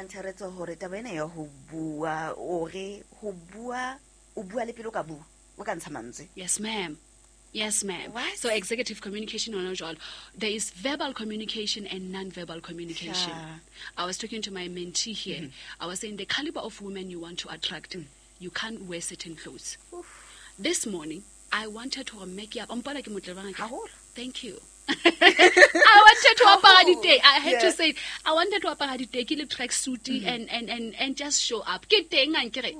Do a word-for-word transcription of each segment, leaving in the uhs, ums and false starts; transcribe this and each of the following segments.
Mantheretso hore taba ena ya ho bua o re ho bua o bua le pele o ka bua o ka ntsha mantswe. Yes, ma'am. Yes, ma'am. What? So executive communication on jwalo. There is verbal communication and non-verbal communication. Sure. I was talking to my mentee here. Mm-hmm. I was saying the caliber of women you want to attract, mm. you can't wear certain clothes. Oof. This morning, I wanted to make up. Thank you. I wanted to apara diteki. I had Yeah. to say, I wanted to apara diteki le tracksuit and, and, and, and just show up. Ke teng ankere.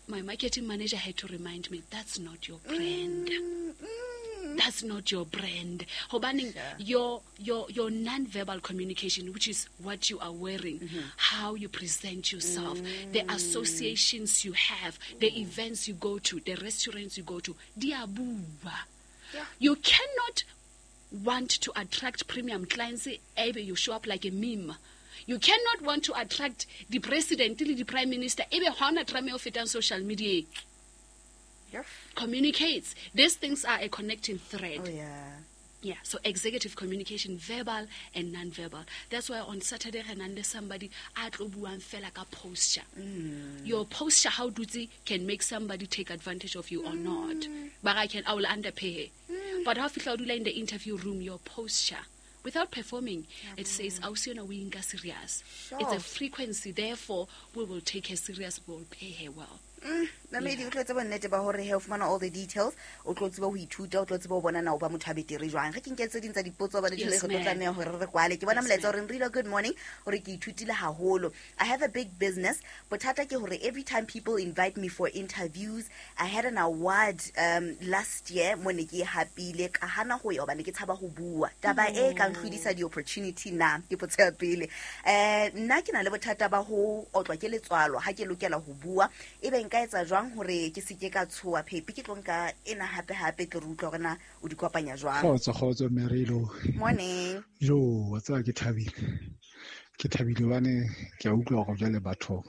My marketing manager had to remind me, that's not your brand. Mm, mm. That's not your brand. Hobaneng, Sure. your, your, your non-verbal communication, which is what you are wearing, mm-hmm. how you present yourself, mm. the associations you have, the events you go to, the restaurants you go to, di a bua. Yeah. You cannot want to attract premium clients, ebe you show up like a meme. You cannot want to attract the president, the prime minister, ebe ha ona tram e o fetang social media. Yep. Communicates. These things are a connecting thread. Oh, yeah. Yeah, so executive communication, verbal and non-verbal. That's why on Saturday, re nang le somebody a tlo buang fela ka posture. Mm. Your posture, how dutse, can make somebody take advantage of you or not. Mm. But I can, I will underpay her. Mm. But how fihla o dula in the interview room, your posture, without performing, Yeah. it says, Ausi ena o e nka serious. Sure. It's a frequency, therefore, we will take her serious, we will pay her well. Mm, Mamedi, o tlo tseba nnete ba hore he o fumana all the details, o tlo tseba ho ithuta, o tlo tseba ho bona na o ba motho a betere jwang. Re ke nke tse ding tsa dipotso hobane jwale Yes, re tlo ma'am. tlameha hore re kwale. Ke bona Yes, molaetsa ma'am. hore Nrilo, good morning, hore ke ithutile haholo. I have a big business. Bothata ke hore every time people invite me for interviews, I had an award, um, last year mo ne ke e hapile, ka hana ho ya hobane ke tshaba ho bua. Taba e ka ntlhodisa di-opportunity na, ke potso ya pele. Eh, nna ke na le bothata ba ho otlwa ke letswalo ha ke lokela ho bua. Ebe nka etsa jwang hore ke se ke ka tshoha phepi, ke tlo nka ena hape hape ke re utlwa hore na o di kopanya jwang. Kgotso, kgotso, Merilo. Morning. Jo, wa tseba ke thabile. Ke thabile hobane ke a utlwa hore jwale batho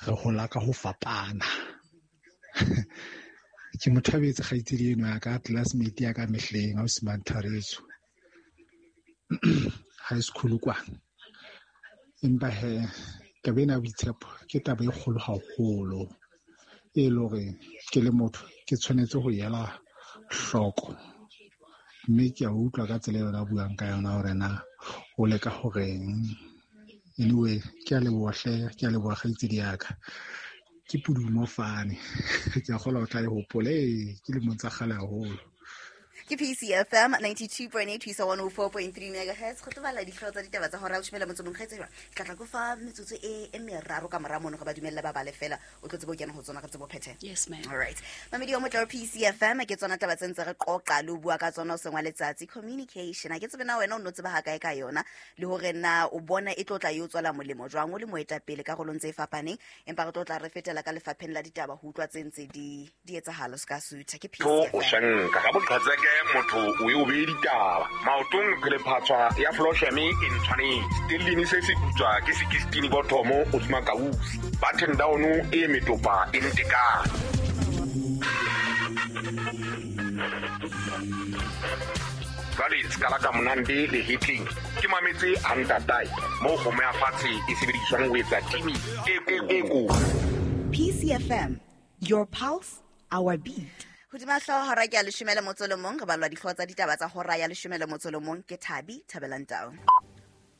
re hola ka ho fapana. Ke mo thabetse kgaitsedi eno ya ka, classmate ya ka mehleng, ausi Mantharetso. High school kwa. Empa he, taba ena ya boitshepo ke taba e kgolo haholo, e le hore ke le motho ke tshwanetse ho ela hloko. Mme ke a utlwa ka tsela eo a buang ka yona hore na o leka horeng. Anyway, ke a leboha hle, ke a leboha kgaitsedi ya ka. Ke pudumo fane. Ke a kgolwa o tla e hopola. Ee, ke lemong tsa kgale haholo. Ke P C F M ninety-two point eight ho isa one oh four point three megahertz. Go tlo bala dihlooho tsa ditaba tsa hora ya leshome le motso o mong. Kgaitsedi jwang? Ke tla tla ko fa metsotso e, e meraro ka mora mono, re ba dumelle ba bale fela. O tlo tsebe ho kena ho tsona, re tsebe ho phethela. Yes, ma'am. All right. Mamedi wa motle wa P C F M, ke tsona taba tse ntse re qoqa le ho bua ka tsona hoseng wa letsatsi. Communication. Ha ke tsebe na wena o no tseba ha kae ka yona, le hore na o bona e tlo tla e o tswela molemo jwang o le moetapele karolong tse fapaneng. Empa re tlo tla re fetela ka lefapheng la ditaba ho utlwa tse ntse di, di etsahala se ka sutha. Ke P C Tho F M. o shanka ga boqhatseke motho o e o beye ditaba. Maotong phelephatswa ya Flosheme e ntshwanetse. Stellini se se putswa ke sixteen bottomo o tsuma kausi. Button down e metopa e ntekane. Jwale se ka la ka monande le hitling. Ke mametse a ntatae mo kgomo ya fatshe e sebediswang ho etsa timi e ko-, e ko. P C F M, your pulse, our beat. Hodima hlooho hora ke ya leshome le motso le mong, re balwa dihlooho tsa ditaba tsa hora ya leshome le motso le mong ke Thabi Thabelang Tau.